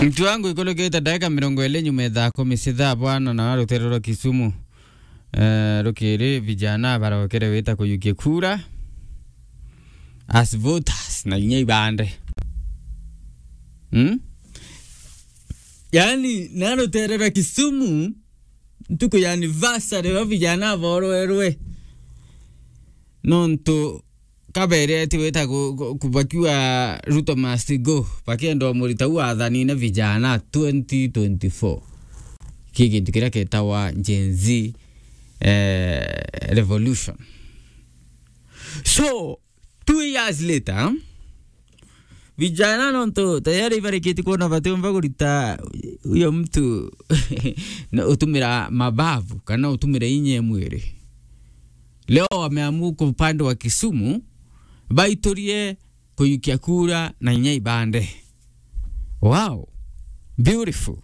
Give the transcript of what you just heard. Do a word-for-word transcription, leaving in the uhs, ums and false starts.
Mtu wangu, ikurukite ndagika mirongo iri nyuma ya thaa kumi cia thaa bwana, na rutere rwa Kisumu, eh, rukiri vijana barokere wita kuyukia kura as voters na inya ibande. Hmm? Yani, na rutere rwa Kisumu, ntuku ya anniversary wa vijana borwerwe. Nontu kabereti wita ku-, ku-, ku-, bakiuga Ruto must go, bakienda umurita u wathanine vijana twenty twenty-four. Ki gintu kiria ketawa Gen Z, eh, revolution. So, two years later, vijana nontu tayari ibarikiti kuona batiumba kurita uyo mtu na utumira mabavu kana utumira inya ya mwiri. Leo wameamua kwa upande wa Kisumu, baiturie kuyukia kura na inya ibande. Wow. Beautiful.